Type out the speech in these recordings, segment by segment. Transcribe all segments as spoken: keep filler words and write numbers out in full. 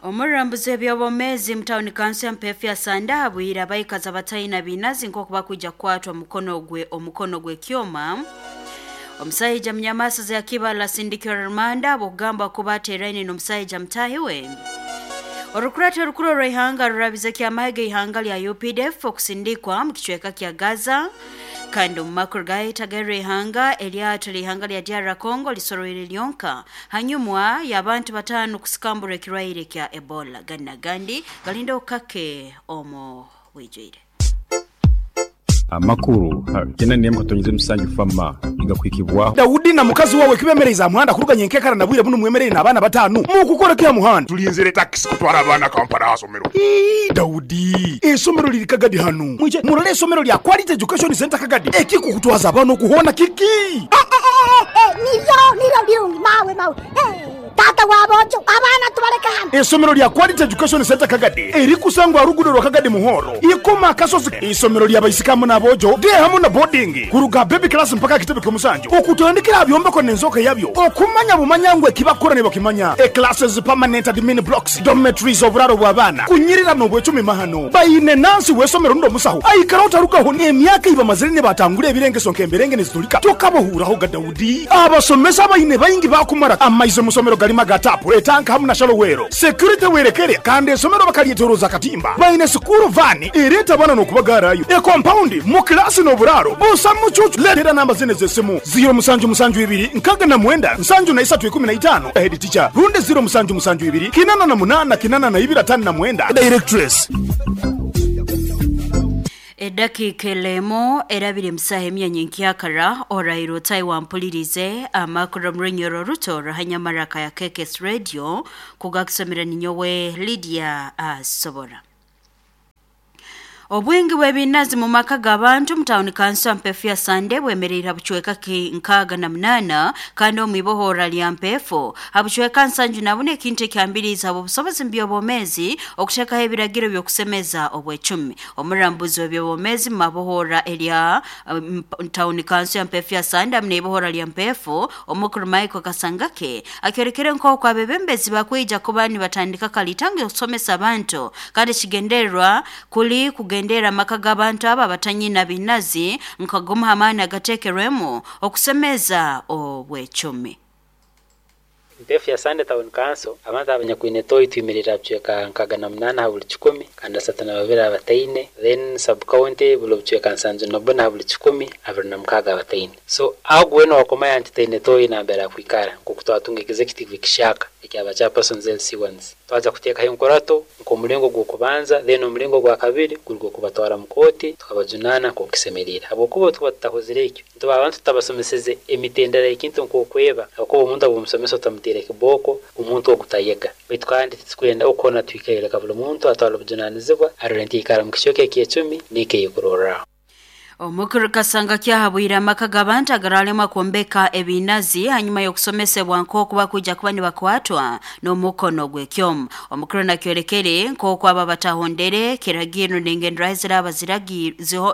Omurambuzi ebyobomezi mutawuni kanso ya Mpefu ya Sanda abwire abaikazi bataina binazi nk'oku bakwija kukwatwa omukono gwe omukono gw'ekyoma. Omusaija munyamasaza ya Kibala asindikirwa rumanda ab'okugamba kuba ateeraine n'omusaija mutaahi we. Orukurate orukuru orw'ihanga rurabize kyamahe g'ihanga lya U P D F okusindikwa mu kicweka kya Gaza. Kandi omu makuru gahitaga ihanga eryato ly'ihanga lya D R Congo lisoroire lyonka hanyuma y'abantu bataano kusikambura ekirwaire kya Ebola. Gandi na gandi galinda okukake omu bwijwire. Amakuru kena niye mukatonyeze musanju fama igakwikibwa Daudi na mukazi wawe kibemereza muhanda kuruganya enkekara na bwire buno mwemerere n'abaana batanu mukukora kya muhanda tulinzire taxi kutwara abaana Kampala asomero. Ii Daudi esomero liri Kagadi hanu mwije murole esomero lya Quality Education Center Kagadi ekikukutwaza abaana okuhona kiki eh, eh, eh, niyo niyo birungi mawe mawe eh. Tata wabojo abana tubaleka hano. Esomero lya Quality Education Center Kagadi erikusangwa rugudo rwa Kagadi Muhoro ikoma akasozi. Isomero lya baisikamu nabojo de hamu na boarding kuruga baby class mpaka kitebe kyomusanju okutandikira byombeko nenzoka yabyo okumanya bumanyangwe kibakora ne bakimanya e classes permanent admin blocks dormitories oburaro bw'abana kunyirira no bwecumi mahano bayine nansi wesomero ndo musaho aikara utarukaho ne emyaka iba mazire batangure ebirengeso nkemberenge nezitulika tokabohuraho ga Daudi abasomesa bayine bayingi bakumara amaizo musomero galima gatapu etanka hamu na shalowero security werekere kandi esomero bakalietoroza katimba bayine sukuru vani ereta bana no kubagarayo e compound mu class no buraro busa mucucu letera namba zine zesimu zero musanju musanju ibiri nkaga na mwenda nsanju na isatu ikumi na itano head teacher runde zero musanju musanju ibiri kinana na munana kinana na ibira tano na mwenda directress. Edakika elemo erabire musaha emyanya nkyakara orairo Taiwan mpulirize amakuru murunyoro ruto rahanyamaraka ya K K S Radio kugakusomera ninyowe Lydia Asobora. Obwingi bw'ebinazi mu maka g'abantu mu tawuni kanso ya Mpefu ya Sande bwemerera bucweka ki nkaaga na munana kandi omu ibohora lya Mpefu habucweka nsanju na bune ekintu ekyambiriza obusobozi mbyobomezi okuteekaho ebiragiro by'okusemeza obwecumi. Omurambuzi w'ebyobomezi mu mabohora erya um, tawuni kanso ya Mpefu ya Sande hamwe n'ibohora lya Mpefu omukuru Michael Kasangake akyorekere nk'oku abebembezi bakwija kuba nibatandika kalitange okusomesa abantu kandi kigendererwa kuli kugenda ndera maka g'abantu aba batanyina binazi nkagoma hamana agatekerwemo okusemeza obwecumi. Mpefu ya Sande Town Council abantu abanyakwine toyi twimirira bucweka nkaga na munana buli kikumi kandi asatu na babiri abataine, then sub county buli bucweka nsanju na buna buli kikumi abiri na mukaga abataine. So aho wena wakomaya nti taine toyi nambera kwikara nkoku twatunga executive kishaka ekyaba chairpersons L C ones twaza kuteekaho enkorato nk'omulingo gw'okubanza then omulingo gwa kabiri guri gw'okubatwara mu kooti tukabajunana nk'okusemerera habwokuba tuba tutahozire ekyo ntuba abantu tutabasomeseze emitendera ekintu nk'okweba habwokuba omuntu ab'omusomesa otamuteera ekiboko omuntu ogutayega baitu kandi titukwenda okona twikaireka buli muntu atwara obujunanizibwa arore nti ikara mu kicweka eky'ecumi n'ekeyekurorraho. Omukuru Kasanga kyahabwire amaka g'abantu agaralema kwombeka ebinazi hanyuma y'okusomesebwa nk'oku bakwija kuba nibakwatwa n'omukono gw'ekyoma. Omukuru nakyorekere nk'oku aba batahondere kiragiro n'engenderaho ziraba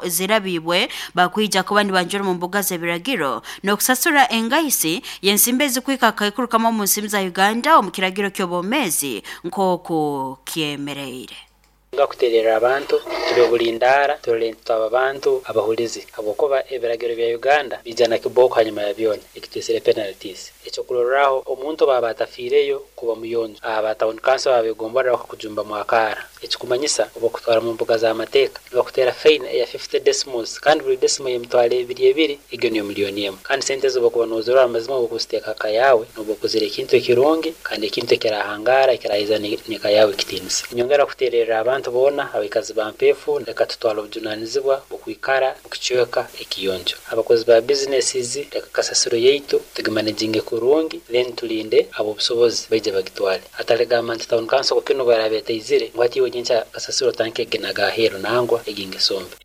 zirabibwe bakwija kuba nibanjura mu mbuga z'ebiragiro n'okusasura engahisi y'ensimbi ezikwika akaikurukamu omu nsimbi za Uganda omu kiragiro ky'obwomezi nk'oku kyemereire. Ngakuterera abantu tube bulindara turore twaba abantu abahulizi habwokuba ebiragiro bya Uganda bijana kiboko hanyuma ya byona ekitesere penalties ekyo kuroraho omuntu baba atafiireyo kuba muyonjo aba town council abegombora bakujumba mwakara ekikumanyisa obokutwara mu mbuga za mateeka bakutera fine ya fifty decimals kandi buli decimal yemitwale ebiri ebiri egyo niyo milioni emu kandi sente zo bakuba nozorora amazima okuziteeka kayawe nobokuzira ekintu ekirungi kandi ekintu ekirahangara ekirahiza neka yawe kitinisa. Nyongera kuterera abantu bona abakazi ba Mpefu leka tutwala obujunanizibwa okwikara mukicweka ekiyonjo abakozi ba businesses leka kasasiro yaitu tugimanejinge kurungi then tulinde abo busobozi baije bagitwale atalegamba nti town council kino barabetaizire ngwati iwe nyencha kasasiro tanke genaga hero nangwa egingesombe.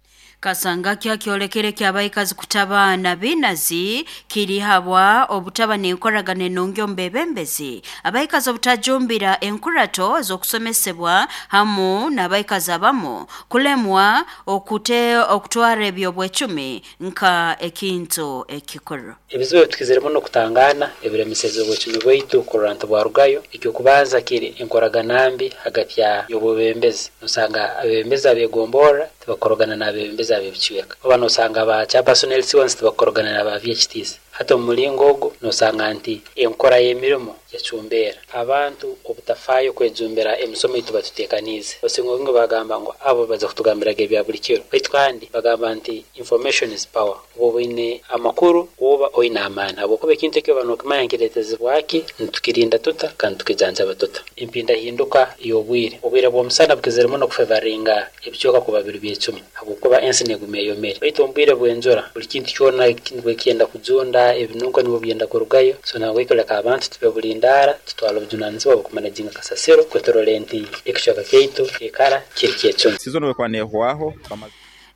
Kasanga kya kyolekere ky'abaikazi kutabana binazi kiri habwa obutaba n'enkoragana enungi omu bebembezi abaikazi obutajumbira enkurato z'okusomesebwa hamu n'abaikazi abamu kulemwa okute okutwara ebyobwecumi nka ekintu ekikuru. Ebizibu ebitukiziremu n'okutangana ebiremiseze obwecumi bwaitu kurora nti bwarugayo. Ekyokubanza kiri enkoragana mbi hagati ya y'obwebembezi. Nosanga abebembezi abegomborra tibakorogana n'abebembezi ab'ebicweka, oba nosanga ba chairperson L C ones tibakorogana n'aba V H Ts. Hati omu mulingo ogu nosanga nti enkora y'emirimo yacumbera abantu obutafaayo kwejumbira emisomo eitu batuteekaniize. Osinga obwingi bagamba ngu abo baza kutugambiraga ebya buli kiro, baitu kandi bagamba nti information is power. Oba oine amakuru oba oine amaani, habwokuba ekintu eki oba nokimanya nkireetezibwaki, nitukirinda tuta kandi tukijanjaba tuta. Empindahinduka y'obwire, obwire bw'omusana bukizire muno kufevaringa ebicweka kuba biri byecumi, habwokuba ensi neguma eyomere. Baitu omu bwire bw'enjura buli kintu kyona nibwo kyenda kujunda, ebinunko nibwo byenda kurugayo. So nabwekyo leka abantu tube bulindara, tutwala obujunanizibwa bw'okumanajinga kasasiro kwetorole nti ekicweka kyaitu ekara kiri kyecumi. Season wekwanehwaho.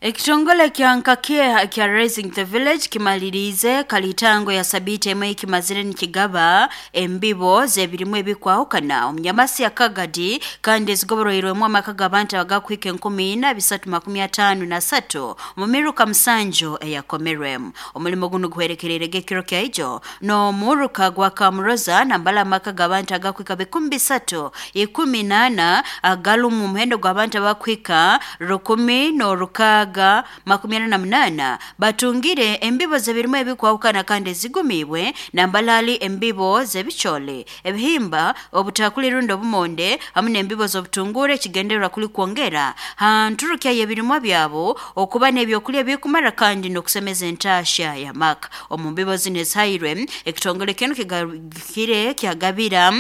Ekitongole kya nkakie kya Raising the Village kimalirize kalitango ya sabiti emwe kimazire nikigaba embibo zebirimu ebikwahukana omunyamasi ya Kagadi kandi ezigoboroirwemu amaka g'abantu abagakwika enkumi ina bisatu makumi atano na satu mumiruka musanju eyakomerwemu. Omulimo guno guherekererege ekiro kya ijo no muruka gwa Kamuroza nambala amaka g'abantu agakwika bikumi bisatu ikumi nana agalumu omuhendo gw'abantu abakwika rukumi n'orukaga makumi ana na munana batungire embibo zebirimu ebikwahukana kandi ezigumibwe nambalali embibo zebichole ebihimba obutakuli rundo obumonde hamwe n'embibo z'obutungure ekigendererwa kuli kwongera hanturukya y'ebirimwa byabo okuba n'ebyokulya bikumara kandi n'okusemeza entasha ya maka. Omu mbibo zino ezihairwe ekitongole kinu kigakire kyagabira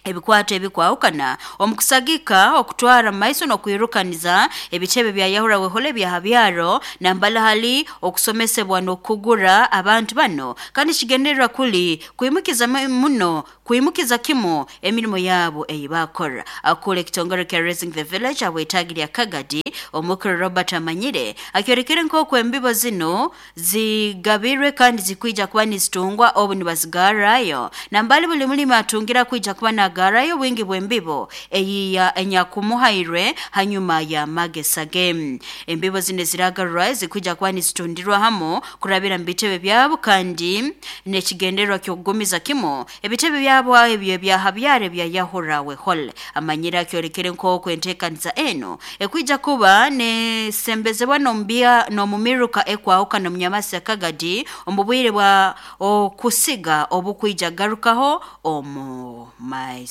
ebikwato ebikwahukana omukusagika okutwara maiso n'okwirukaniza ebitebe bya Yahura wehole bya habyaro nambala hali okusomesebwa n'okugura abantu bano kandi kigendererwa kuli kuimukiza muno kuimukiza kimo emirimo yabo eyibakora. Akule ekitongole kya Raising the Village abwetagirya Kagadi omukuru Robert Amanyire akyorekere nk'oku embibo zino zigabirwe kandi zikwija kuba nizitungwa obu nibazigarayo nambali buli mulimi atungira kwija kuba na garayo wingi bw'embibo eyiya enyakumuhairwe hanyuma ya magesa game. Embibo zine ziragarwa zikuja kuba nizitundirwa hamo kurabira mu bitebe byabo kandi nekigendererwa ky'okugumiza kimo ebitebe byabo ebyo bya habyare bya Yahura wehole. Amanyira akyorekere nk'oku enteekaniza eno ekwija kuba nesembezebwa n'ombia n'omumiruka ekwahukana omunyamasi ya Kagadi omu bwire bwa okusiga obukwija garukaho omu maiso.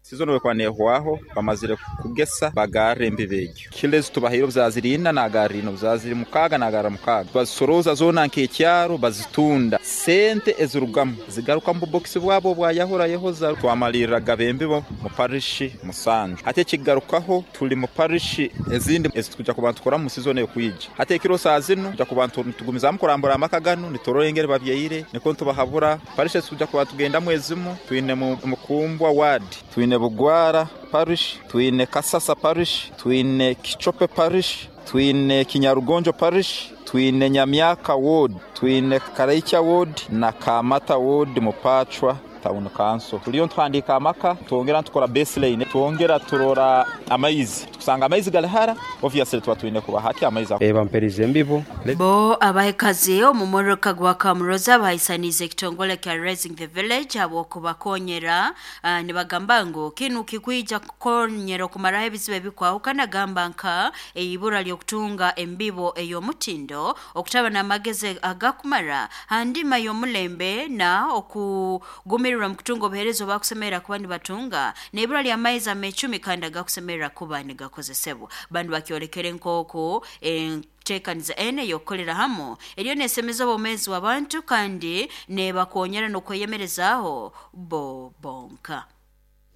Season wekwanehwaho bamazire kugesa bagarra embibo egyo kilezi tubahiro buzazirina nagarrino buzaziri mukaga nagarra mukaga bazisoroza zona nkekyaro bazitunda sente ezirugamu zigaruka mu box bwabo bwa Yahura Yehoza. Twamaliriraga bembibo mu parish musanju ate kigarukaho tuli mu parish ezindi ezitukuja ku bantu kora mu season ekwija ate ekiro saa zino kuja ku bantu tugumizamu kurambura amaka gano nitororengere babyeire niko ntubahabura parish ezitukuja ku bantu tugenda mwezimu twine mu Mukumbwa ward, twine Bugwara parish, twine Kasasa parish, twine Kichope parish, twine Kinyarugonjo parish, twine Nyamyaka ward, twine Karaicha ward na Kamata ward mu Pachwa town council. Tuliyo ntwandika amaka twongera tukora baseline twongera turora amaizi tukusanga amaizi galihara obviously tuba twine kuba hati amaizi e bamperize embibo bo abahekazi omumoroka gwa Kamuroza bahisanize ekitongole kya Raising the Village habwokubakonyera uh, nibagamba ngu kinu kikwija kukonyera okumaraho ebizibu ebikwahukana gamba nka eibura ly'okutunga embibo ey'omutindo okutaba n'amagezi agakumara handima y'omulembe na okugumira mukutunga obuheereza obakusemerera kuba nibatunga n'ibura ly'amaizi amecumi kandi agakusemerera kuba nigakozesebwa. Bandu bakyolekere nk'oku enteekaniza ene y'okukolera hamo eriyo nesemeza obwomeezi bw'abantu kandi nebakonyera n'okweyemerezaaho bo bonka.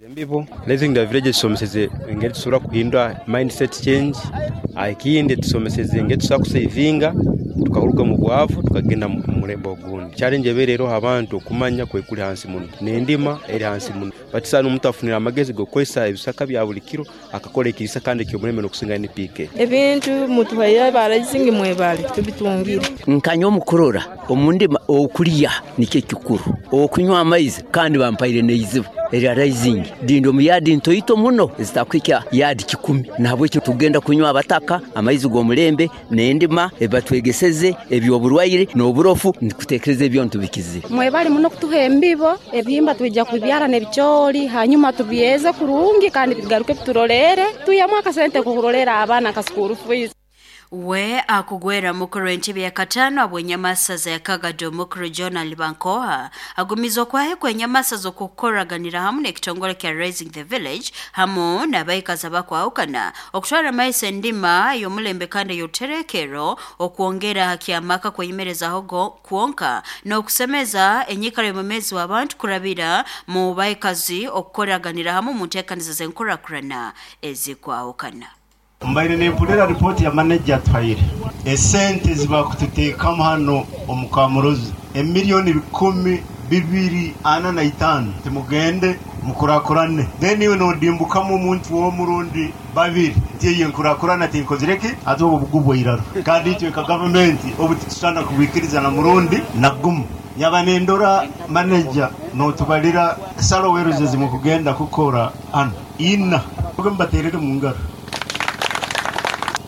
Embibo Raising the Village tusomeseze engeri tusobora kuhindura mindset change, ekindi tusomeseze engeri tusobora kusavinga tukaruga mu bwavu tukagenda mu mulembe ogundi. Challenge ebeere eroho abantu okumanya kwekuli hansi muno n'endima eri hansi muno, batisana omuntu afunira amagezi g'okukozesa ebisaka bya buli kiro akakora ekirisa kandi eky'omulembe n'okusinga N P K. Ebintu mutuhaire ba Raising mwebale tubitungire. Nkanywa omukurora omundima okulya nikyo kikuru, okunywa amaizi kandi bampaire n'eizibu erya Raising dindo mu yadi ntoito muno ezitakwikya yadi kikumi, nahabwekyo tugenda kunywa abataka amaizi g'omulembe n'endima ebatwegeseze ebyoburwaire n'oburofu nikutekereza ebyo ntubikizire. Mwebale muno kutuha embibo ebihimba twijja kubyara n'ebicoori hanyuma tubyeze kurungi kandi bigaruke biturolere tuyamu akasente kukurolera abaana ka school fees. We akugwera mukuru w'entebe ya katano abwenyamasaza ya Kagado mukuru John Alibankoha agumizwa kwahe kwenyamasaza okukoraganira hamu n'ekitongole kya Raising the Village hamu n'abaikazi abakwahukana okutwara amaiso endima y'omulembe kandi y'oruterekero okwongera hakyamaka kweyimerezaho kwonka n'okusemeza enyikara y'omumezi w'abantu kurabira mu baikazi okukoraganira hamu mu nteekaniza z'enkurakurana ezikwahukana. Mbaire nempurira ripoti ya manager atwaire esente zibakututeekamu hano omu Kamurozi emiliyoni bikumi bibiri ana na itaano timugende mukurakurane, then iwe nodimbukamu omuntu w'omurundi babiri nti eyo nkurakurana tinkozireki ate obwo bugubwa iraro kandi itwe nka gavumenti obu titusana kubikiriza na murundi na gumu. Nyaba nendora manager notubalira salo weruze zimukugenda kukora hano ina mbaterere mu ngaro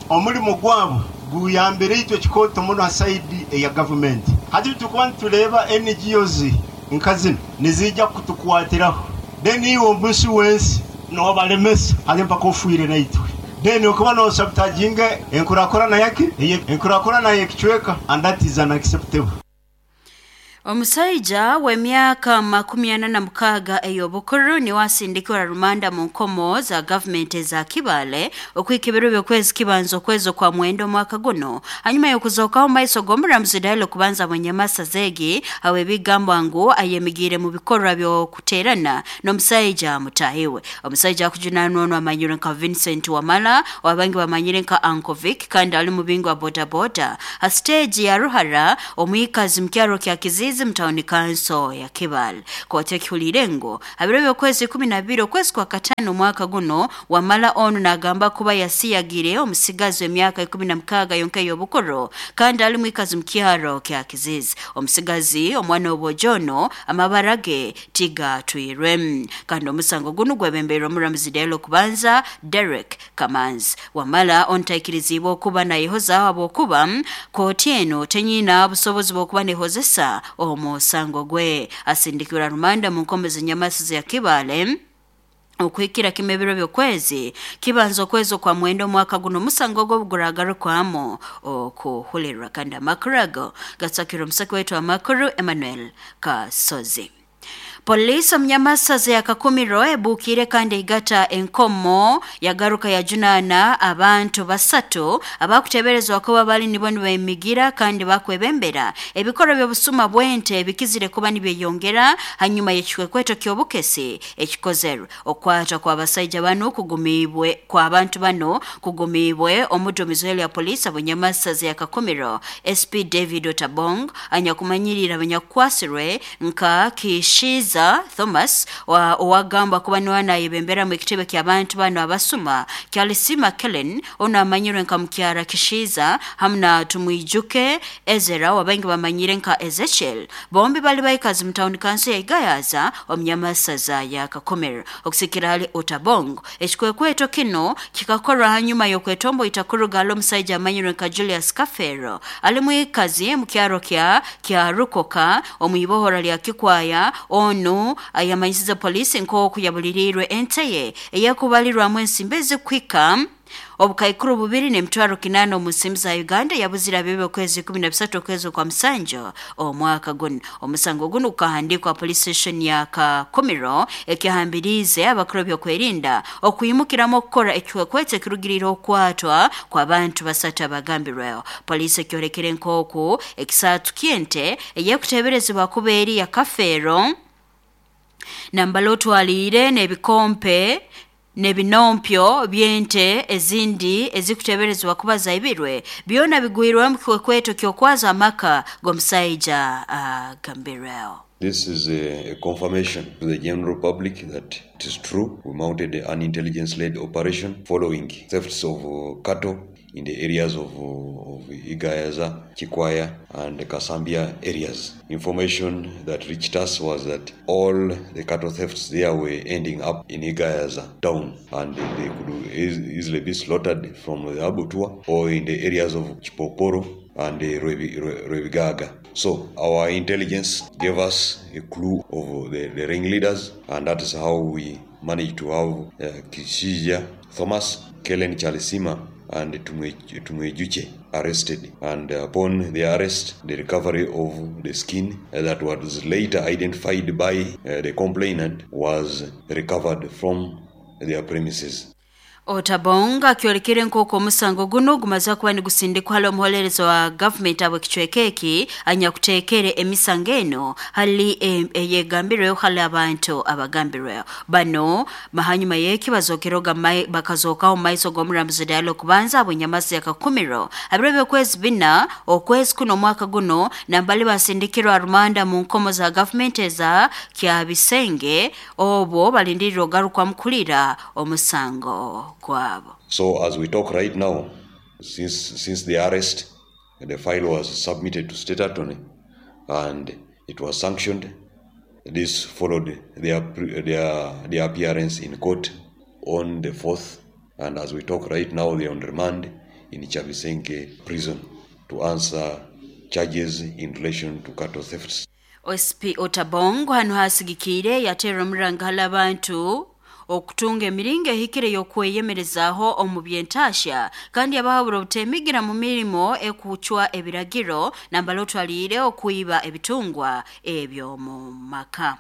omulimo gwabo guyambire itwe kikoto muno ha side eya government. Hati tukuba nituleba N G Os nkazino nizijja kutukwatiraho, then iwe omusi wensi nobalemesa ate mpaka ofuire naitwe, then okuba nosabutaginga enkurakurana yaki enkurakurana yekicweka and that is unacceptable. Omusaija w'emyaka makumi ana na mukaaga ey'obukuru niwe asindikirwa rumanda mu nkomo za gavumenti eza Kibale okwika ebiro by'okwezi kibanza okwezi kwa mwenda omwaka guno hanyuma y'okuzookaho maiso g'omuramuzi Dailo kubanza Bwenyamasa egi aho ebigambwa ngu ayemigiire mu bikorwa by'okuteerana n'omusaija mutahiwe. Omusaija akujunanwa ono amanyire nka Vincent Wamala wabangi bamanyire nka Uncle Vic kandi ali mubingo wa bodaboda ha stage ya Ruhara omwikazi mukyaro kya Kizizi mtaoni kanso ya Kibale. Kote ekihulire ngo abiro by'okwezi kumi na bibiri okwezi kwa katano omwaka guno Wamala ono nagamba kuba yasiyagire omusigazi w'emyaka ikumi na mukaaga yonka ey'obukuru kandi ali mwikazi mukyaro kya Kizizi. Omusigazi omwana w'obojono amabara ge tigatwirwe kandi omusango guno gwebembeirwe omuramuzi Dailo kubanza Derek Kamanzi. Wamala ontaikirizibwa okuba nayehoza habwokuba kooti eno tenyina busobozi bw'okuba nehozesa omusango gwe. Asindikirwa rumanda mu nkomo z'enyamasi ya Kibale okwikira kimebiro by'okwezi kibanza okwezi kwa mwenda omwaka guno omusango ogw'obuguragarukwamo okuhulirwa. Kandi amakuru ago gatsakirwa omusaki waitu amakuru Emmanuel Kasozi. Polisi omunyamasaza ya Kakumiro ebuukire kandi eigata enkomo yagaruka yajunana abantu basatu abakuteberezwa kuba bali nibo nibemigira kandi bakwebembera ebikorwa by'obusuma bw'ente bikizire kuba nibyeyongera hanyuma y'ekikwekweto ky'obukesi ekikozerwe. Okwata kw'abasaija bano kugumibwe kw'abantu bano kugumibwe omuduumizi ya polisi abanyamasaza ya Kakumiro S P David Otabong anyakumanyirira abanyakukwasirwe nka Kishiza Thomas wa owagamba kuba niwe anayebembera mu ekitebe ky'abantu bano abasuma Kyalisima Kellen ono amanyirwe nka Mukyara Kishiza hamwe na Tumwijuke Ezera wabangi bamanyire nka Ezekiel. Bombi bali baikazi mu town council ya Igayaza omunyamasaza ya Kakumiro. Okusikira hali Otabong ekikwekweto kino kikakorwa hanyuma y'okwetombo itakuruga omusaija amanyirwe nka Julius Kafero ali mwikazi mu kyaro kya kya Rukoka omwibohora lya Kikwaya ono ayamanyisiza polisi nk'oku yabulirirwe enteye eyakubalirwamu ensimbi ezikwika obukaikuru bubiri n'emitwaro kinana omu nsimbi za Uganda yabuzira bebe okwezi kumi na bisatu okwezi kwa musanjo omwaka guno. Omusango guno gukahandikwa police station ya Kakumiro ekihambirize abakuru by'okwerinda okuyimukiramu okukora ekikwekweto ekirugirira okwatwa kw'abantu basatu abagambirweho. Poliisi ekyorekere nk'oku ekisatu ky'ente eyekuteeberezebwa kuba eri ya Kafeero Nambala otwaliire n'ebikompe n'ebinompyo by'ente ezindi ezikuteberezwa kuba zaibirwe byona bigwirwe mu kikwekweto ky'okwaza amaka g'omusaija agambirweho. This is a, a confirmation to the general public that it is true. We mounted an intelligence-led operation following thefts of uh, cattle in the areas of, uh, of Igayaza, Chikwaya, and Kasambia areas. Information that reached us was that all the cattle thefts there were ending up in Igayaza town, and they could easily be slaughtered from the abattoir or in the areas of Chipoporo and Rwebigaga. So our intelligence gave us a clue of the, the ringleaders, and that is how we managed to have uh, Kishija Thomas, Kellen Chalisima, and Tumwejuche arrested. And upon the arrest, the recovery of the skin that was later identified by uh, the complainant was recovered from their premises. Otabonga akiolekere nk'oku omusango guno gumaze kuba nigusindikwa hali omuholereza wa gavumenti abo ekicweka eki anyakuteekere emisango eno hali eyegambirweho hali abantu abagambirweho bano mahanyuma y'eki bazokeroga bakazookaho mu maiso g'omuramuzi Diallo kubanza abo enyamazi yakakumiro abiro by'okwezi bina okwezi kuno omwaka guno nambali basindikirwa rumanda mu nkomo za gavumenti eza Kyabisenge obwo balindirira ogarukwamu kulira omusango kwabo. So as we talk right now, since since the arrest, the file was submitted to state attorney and it was sanctioned. This followed their their their appearance in court on the fourth, and as we talk right now, they are on remand in Chabisenke prison to answer charges in relation to cattle thefts. S P Otabongo hano hasigikire yatera omuranga abantu okutunga emiringo ehikire y'okweyemerezaaho omu byentasha kandi abahabura obutemigira mu mirimo ekucwa ebiragiro nambala otwaliire okwiba ebitungwa ebyo mu maka.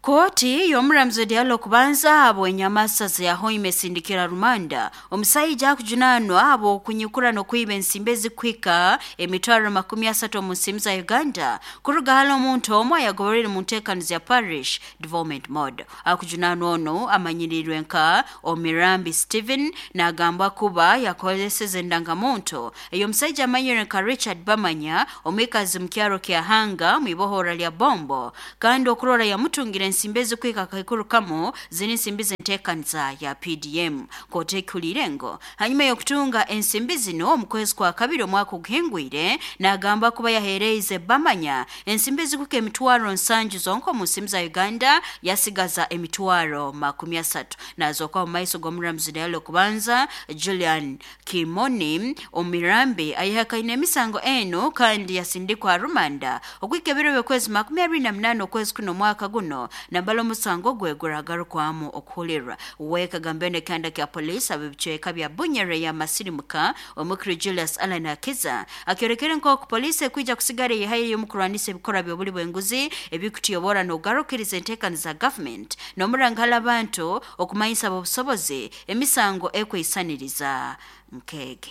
Kooti y'omuramuzi Diallo kubanza abo enyamasa zahoime sindikira rumanda omusajja akujunanwa abo okunyukura n'okwiba ensimbi ezikuhika emitwaro makumi asatu omu nsimbi za Uganda kuruga hali omuntu omwe ayagoberere mu nteekanizo ya Parish Development Model. Akujunanwa ono amanyirirwe nka Omirambi Stephen n'agambwa kuba yakozeseze endangamuntu ey'omusajja amanyirwe nka Richard Bamanya omwikazi mu kyaro kya Hanga mu ibohora lya Bombo kandi okurora yamutungira ensimbi ezikuhika akaikuru kamo ziri ensimbi z'enteekaniza ya P D M. Kooti ekulire ngo hanyuma y'okutunga ensimbi zino omu kwezi kwa kabiri omwaka oguhingwire n'agamba kuba yaheereize Bamanya ensimbi ezikuhika emitwaro nsanju zonka omu nsimbi za Uganda yasigaza emitwaro makumi asatu. Nazooka mu maiso g'omuramuzi Diallo kubanza Julian Kimoni Omirambi ayehakaine emisango eno kandi yasindikwa rumanda okuhika ebiro by'okwezi makumi abiri na munaana okwezi kuno omwaka guno nambala omusango gwe guragarukwamu okuhulirwa. Wekagambene kanda kya polisi ab'ebicweka bya Bunyere ya Masirimuka omukuru Julius Allan Akiza akyorekere nk'oku polisi ekwija kusigara eyihayo y'omukurwanisa ebikorwa by'obuli bw'enguzi ebikutuyobora n'ogarukiriza enteekaniza za gavumenti n'omurangala abantu okumanyisa obusobozi emisango ekwisaniriza nkege.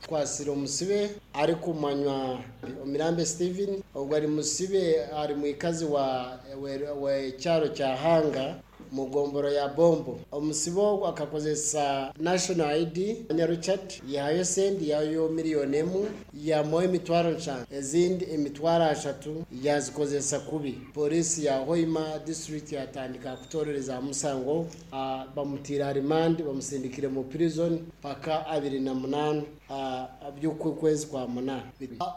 Kwasira omusibe ari kumanywa Omirambe Steven ogwo ari musibe ari mwikazi wa we kyaro kya Hanga mu gomboro ya Bombo. Omusibe akakozesa national I D nya Richard yahayo sendi yayo miliyoni emu yamuha emitwaro nshanu ezindi emitwaro ashatu yazikozesa kubi. Polisi ya Hoima district yatandika kutorereza musango bamutira remand bamusindikire mu prison paka abiri na munana by'ukwezi kwa munana.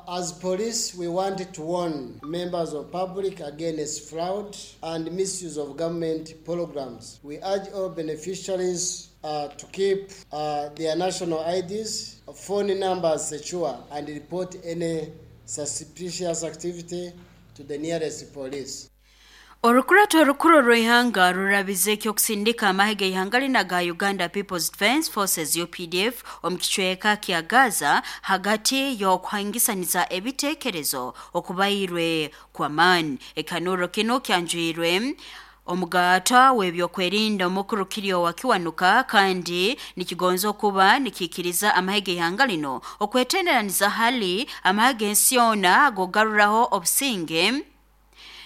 As police we want to warn members of public against fraud and misuse of government programs. We urge all beneficiaries uh, to keep uh, their national I Ds, phone numbers secure and report any suspicious activity to the nearest police. Orukurato orukuru rw'ihanga rurabize ekyokusindika amahe g'ihanga lina ga Uganda People's Defence Forces U P D F omu kicweka kya Gaza hagati y'okuhangisaniza ebiteekerezo okubairwe kw'amaani. Ekanuro kino kyanjwirwe omugata w'ebyokwerinda omukuru Kirio wa Kiwanuka kandi nikigonza okuba nikikiriza amahe g'ihanga lino okwetenderaniza hali amahe g'ensi yoona agogaruraho obusinge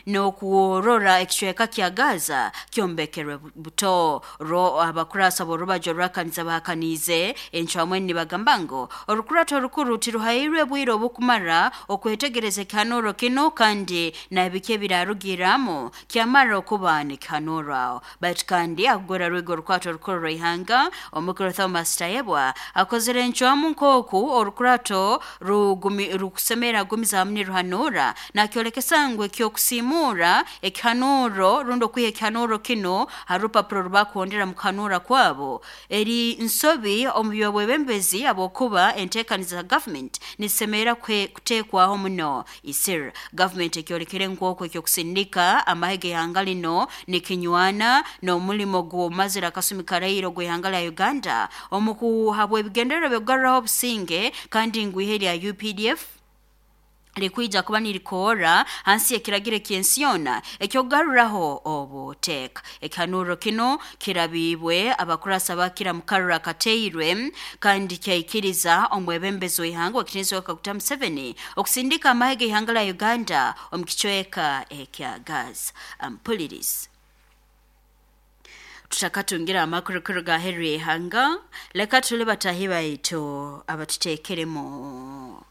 n'okuworora ekicweka kya Gaza kyombekerwe buto. Ro abakurasa b'orubajo rwakaniza bahakanize encwamwe nibagamba ngu orukurato orukuru tiruhairwe bwire obukumara okwetegereza ekihanuro kino kandi nabiki ebirarugiramu kyamara okuba nikihanuro aho. Baitu kandi akugora rwego orukwato orukuru rw'ihanga omukuru Thomas Tayebwa akozere encwamu nk'oku orukurato rugumi rukusemera gumiza hamwe ruhanura nakyolekesa ngu ekyokusimura ekihanuro rundi okwiha ekihanuro kino harupapuro rubakuhondera mu kuhanura kwabo eri nsobi omu byobwebembezi abokuba enteekaniza za government nisemera kuteekwaho muno isir. Government ekyolekere nk'oku ekyokusindika amahe g'ihanga lino nikinywana n'omulimo gw'omazira akasumi karairo gw'ihanga lya Uganda omu kuhabwa ebigendererwa by'okugaruraho obusinge kandi ngu ihe lya U P D F likwija kuba nirikora hansi ekiragiro ky'ensi yona ekyokugaruraho obuteeka. Ekihanuro kino kirabibwe abakurasa bakira mukarura kateirwe kandi kyaikiriza omwebembezi w'ihanga w'ekitiinisa Kaguta Museveni okusindika amahe g'ihanga lya Uganda omu kicweka ekya Gaza. Ampulirizi tutakatungira amakuru kuruga aheeru y'ihanga, leka tule batahi baitu abatuteekeremu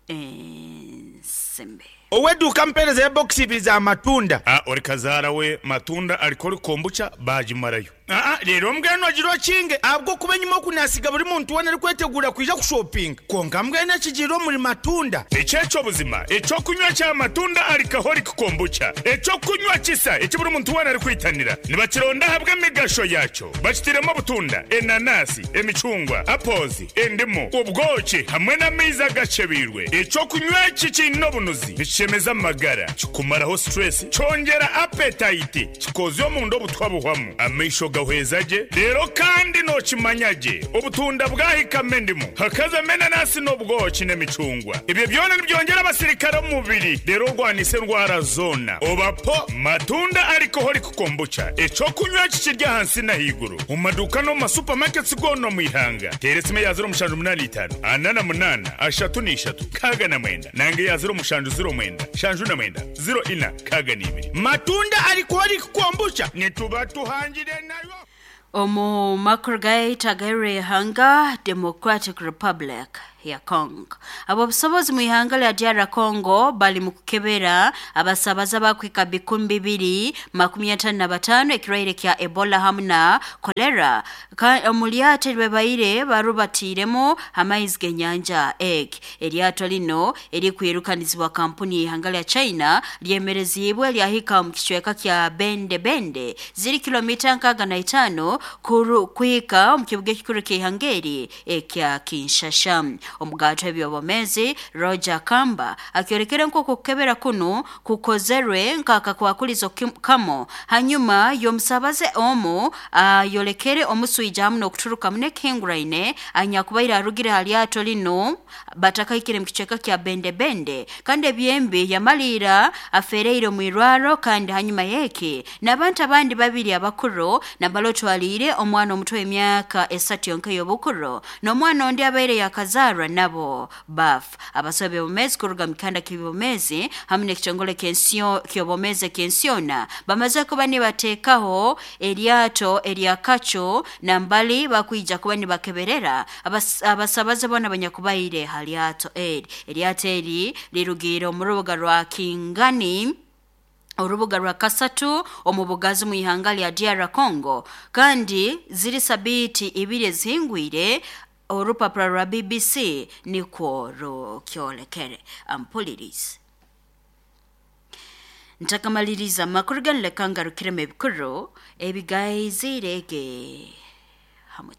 ensembe. Oweduka mpereza ya box ibiri za matunda. Ah, ori kazara we matunda alikori kombucha bajimarayo. Ah, rero mbweno agirwa kinge abwo kuba nyuma kunasiga buri muntu wena ari kwetegura kwija kushopping. Konka mbwene kigiro muri matunda. Echecho buzima, echo kunywa cha matunda alikahori kombucha. Echo kunywa kisa ekiburi muntu wena ari kwitanira. Nibakironda habwe migasho yacho. Bakitiremo butunda, enanasi, emicungwa, apples, endimu, ubwoki hamwe n'amaizi agacebirwe. Echo kunywa kikino bunuzi. Kishemeza amagara, kikumaraho stress, cyongera appetite, kikozyo mu ndo butwabuhwamu. Amaisho gahwezaje, rero kandi no kimanyaje. Ubutunda bwahikame ndimu, hakaza menanasi n'ubwoki n'emicungwa. Ibyo byona nibyongera abasirikare mu mubiri, rero rwanise ndwara zona. Obapo matunda alcoholic kombucha. Echo kunywa kikirya hansi na higuru. Mu maduka no ma supermarkets gono mu ihanga. Teresime ya zero mushanju munani itanu, anana munana, ashatu n'ishatu, kaga na mwenda. Nange ya zero mushanju zero mwenda, shanju na mwenda, zero ina, kaga n'ibiri. Matunda alcoholic kombucha nituba tuhangire nayo. Omu makuru gaita hanga Democratic Republic ya Congo. Abo busobozi mu ihanga lya D R Congo bali mu kukebera abasabaza bakwika bikumi bibiri makumi atano na batano ekirwaire kya Ebola hamwe na cholera. Omu lyato lyebaire barubatiremo amaizi g'enyanja egg. Eryato lino erikwirukanizibwa kampuni y'ihanga lya China lyemerezibwe lyahika mu kicweka kya Bende Bende ziri kilomita nkaga na itano kuhika mu kibuga ekikuru ky'ihanga eri ekya Kinshasa. Omugato ebyobomezi Roger Kamba akyorekere nk'oku kukebera kuno kukozerwe nk'akakwakulizo kamo hanyuma y'omusabaze omu ayolekere omuswija hamu n'okuturuka munekihinguraine anyakubaire arugire ha lyato lino batakaikire mu kicweka kya Bende Bende kandi ebyembi yamalira afereire mu irwaro kandi hanyuma yeki n'abantu abandi babiri abakuru nabalotwalire omwana omuto emyaka esatu yonka y'obukuru n'omwana ondi abaire yakazarwa nabo baf. Abasobe bomezi kuruga mikanda kibomezi hamwe n'ekitongole kensio kyobomeze kensiona bamaze kuba nibateekaho eryato eryakacho nambali bakwija kuba nibakeberera abas, abasabaze bona abanyakubaire halyato eri. Eryato eri lirugiire omu rubuga rwa Kingani orubuga rwa Kasatu omu bugazi mu ihanga lya D R Congo kandi ziri sabiti ibiri ezihingwire orupapuro rwa B B C nikwo rukyolekere. Ampulirizi ntakamaliriza amakuru ganu leka ngarukiremu ebikuru ebigaizirege hamwe.